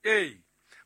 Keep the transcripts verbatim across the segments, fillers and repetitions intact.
Ee,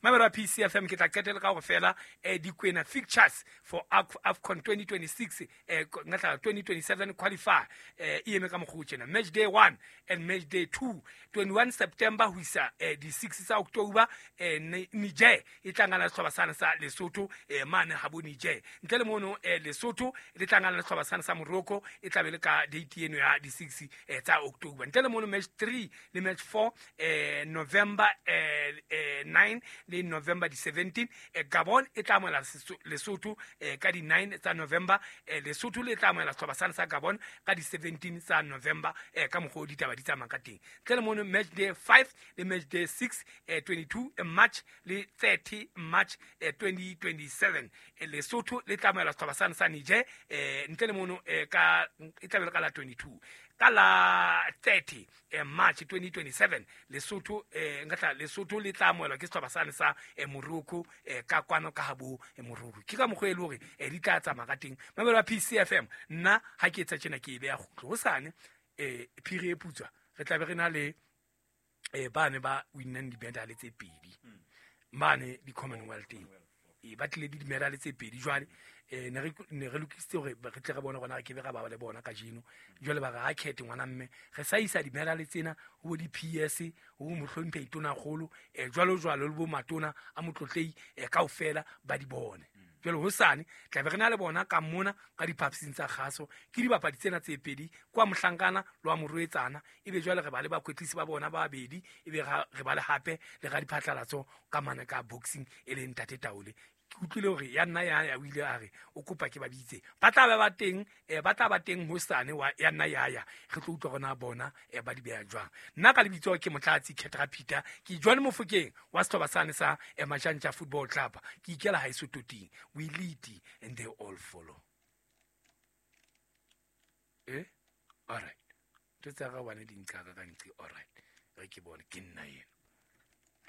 mamelo a P C F M, ke tla qetela ka hore fela eh, dikwena fixtures for AFCON twenty twenty-six, eh, ngatla twenty twenty-seven qualify, eh, e eme ka mokgwa o tjena: match day one and match day two, twenty-one September ho isa eh, di six tsa October, eh, Niger e tla ngana le sehlopha sane sa Lesotho eh, mane ha bo Niger. Ntle le mono, eh, Lesotho le tla ngana le sehlopha sane sa Morocco, e tla be le ka date eno ya di six eh, tsa October. Ntle le mono, match three le match four, eh, November eh, eh, nine le November di seventeen, eh, Gabon e tla amohela Lesotho eh, ka di nine tsa November, eh, Lesotho le tla amohela sehlopha sane sa Gabon ka di seventeen tsa November, eh, ka mokgwa o ditaba di tsamayang ka teng. Ntle le mono, match day five le match day six, eh, twenty-two March le thirty March eh, twenty twenty-seven, eh, Lesotho le tla amohela sehlopha sane sa Niger, eh, ntle le mono, eh, ka e tla be le ka la twenty-two. Ka la thirty eh, March twenty twenty-seven, Lesotho, eh, nka Lesotho le tla amohelwa ke sehlopha sane sa eh, Morocco, eh, ka kwano ka habo eh, Morocco. Ke ka mokgwa e le hore eh, di tla tsamaya ka teng. Mamelo ya P C F M, nna ha ke etsa tjena, ke e beya kgutlo hosane, eh, phiri e putswa, re tla be re na le eh, bane ba winnang di-medal tse pedi mane di-Commonwealth, e ba tlile le di-medal tse pedi. Jwale um ne re lokisitse hore re tle re bone gona, re kebe ra ba le bona kajeno. Jwale ba re ha khethe ngwana mme re sa isa di-medal tsena ho bo di-P S, ho bo mohlomphehi tonakgolo, um jwalo jwalo, le bo matona a motlotlei um kaofela ba di bone. Jwale hosane tla be re na le bona ka mona ka diphapusing tsa kgaso. Ke dibapadi tsena tse pedi, kwa mohlankana le wa morwetsana, ebe jwale re ba le bakwetlisi ba bona ba babedi, ebe re ba le hape le ga diphatlalatso ka mane ka boxing, e leng ntate Taole. Ke utlwile hore ya nna ya ya o ile a re o kopa ke ba bitse, ba tla ba ba teng, eh, ba tla ba teng hosane wa ya nna ya ya re tlo utlwa rona bona eh, ba di beha jwang. Nna ka lebitso ke Motlatsi Khetra Peter, ke Johnny Mofokeng wa sehlopha sane sa eh, Majantja Football Club. Ke ikela haeso toting. We lead and they all follow. Eh, all right, ntho tsa ka bane di nqaka ka nqe. All right, re ke bone ke nna eno.